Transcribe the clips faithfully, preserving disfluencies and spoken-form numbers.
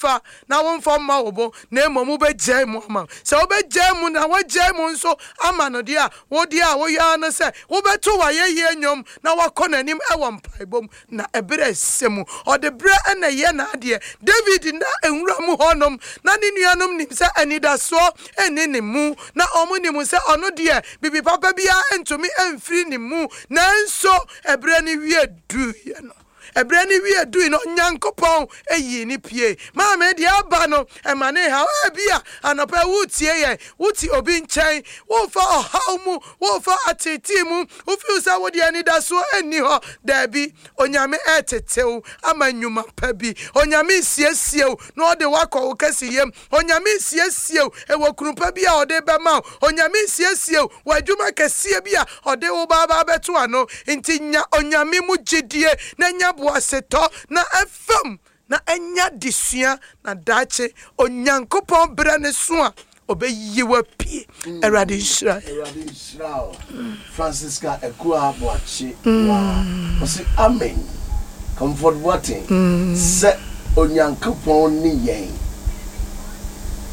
Womfa na womfa mma wo bo, na mmom wobɛgyae mu ama. Sɛ wobɛgyae mu na woagyae mu nso ama no deɛ a, wo deɛ a woyɛ ara ne sɛ wobɛto w'ayɛyie nnwom na woakɔ n'anim wɔ mpaebɔ mu. Na ɛberɛ a ɛsɛ mu, ɔde berɛ na ɛyɛ n'adeɛ. David nna nwura mu hɔnom, na ne nuanom nim sɛ anidasoɔ nni ne mu, na wɔnim sɛ ɔno deɛ biribi papa biara ntumi mfiri ne mu. Nanso ɛberɛ no wie duiɛ no, ɛberɛ no wie dui no, Onyankopɔn yii no pue. Maame, deɛ aba no, ɛma ne haw. Ebia anɔpa yi woretie yɛn, wote obi nkyɛn, worefa ɔhaw mu, worefa ateetee mu, wofeel sɛ wo deɛ anidasoɔ nni hɔ. Daabi, Onyame retete wo ama nnwuma pa bi. Onyame resiesie wo na ɔde wo akɔ wo kɛseyɛ mu. Onyame resiesie wo wɔ kunu pa bi a ɔde bɛma wo. Onyame resiesie wo wɔ adwuma kɛseɛ bi a ɔde wo ba aba abɛto ano. Nti nya Onyame mu gyidie na nya boasetɔ na fam na nya adesua na daakye Onyankopɔn berɛ no so a ɔbɛyi wo apue. Awurade nhyira yɛn. Awurade nhyira wo Francisca Akua Boakye waa ɔse amen Comfort Boateng sɛ Onyankopɔn ne yɛn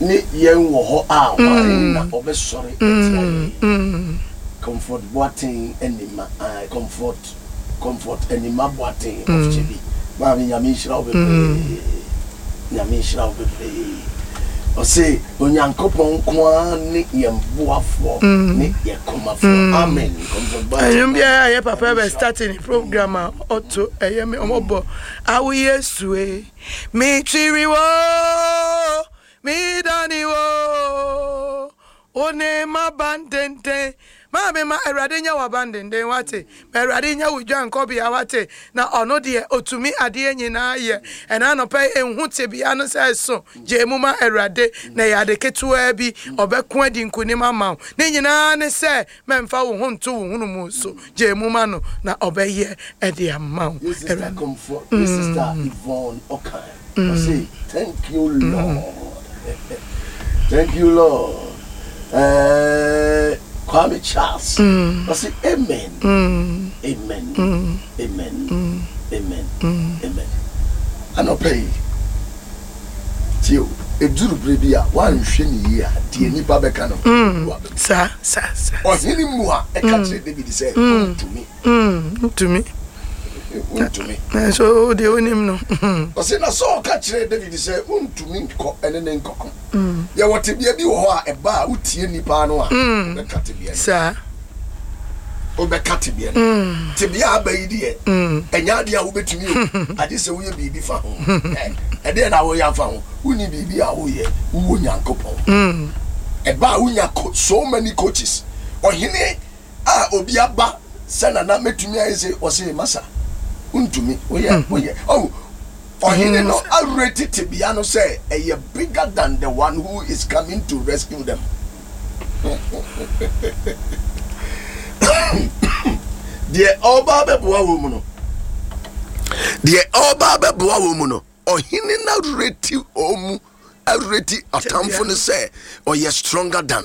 ne yɛn wɔ hɔ a hwan na ɔbɛsɔre atia yɛn Comfort Boateng Anima Comfort Comfort Anima Boateng of Kyebi maame Nyame nhyira wo bebree Nyame nhyira wo bebree ɔse Onyankopɔn nko ara ne yɛn boafoɔ ne yɛn komafoɔ amen Comfort Boateng Ɛnwom biara a yɛ papa bɛ start ne program a ɔto ɛyɛ me ɔmɔbɔ awo Yesu e me twiri wo me dani wo wo ne m'abandenden. Maame, ma Awurade nyɛ w'abandenden, wate? Ma Awurade nyɛ wo dwankɔbea, wate? Na ɔno deɛ, ɔtumi adeɛ nyinaa yɛ. Ɛna anɔpa yi, nhu tebea no sɛ ɛso. Gyae mu ma Awurade, na ɛyɛ ade ketewaa bi. Ɔbɛko adi nkonim ama wo. Ne nyinaa ne sɛ, mɛmfa wo ho nto wo hunumu so. Gyae mu ma no, na ɔbɛyɛ de ama wo. Ye sister Comfort, ye sister Yvonne Okan, ɔse thank you Lord, thank you Lord. Eh, Kwame Charles, ɔse amen, amen, amen, amen, amen. Anɔpa yi, tie o, ɛduru berɛ bi a woanhwɛ ne yie a, deɛ nnipa bɛka no, ɛbu aba mu. Saa, saa, saa. Ɔhene Mua ɛka kyerɛ David sɛ, wontumi. Wontumi. Wontumi. Nanso wo deɛ wonim no. Ɔse na Saul ka kyerɛɛ David sɛ, wontumi nkɔ ɛne ne nkɔko. Yɛwɔ tebea bi wɔ hɔ a ɛba a wotie nnipa ano a, wobɛka tebea no. Saa. Wobɛka tebea no. Tebea a aba yi deɛ, ɛnyɛ adeɛ a wobɛtumi o, agye sɛ woyɛ biribi fa ho. Ɛdeɛ na woyɛ afa ho? Wonni biribi a woyɛ, wowɔ Nyankopɔn. Ɛba a wonya so many coaches. Ɔhene a obi aba sɛ nana mɛtumi ayɛ sɛ ɔse masa wontumi woyɛ woyɛ oh ɔhene no areti tebea no sɛ ɛyɛ bigger than the one who is coming to rescue them. Deɛ ɔba abɛboa wɔ mu no, deɛ ɔba abɛboa wɔ mu no, ɔhene no areti wɔn mu, areti atamfo no sɛ ɔyɛ stronger than.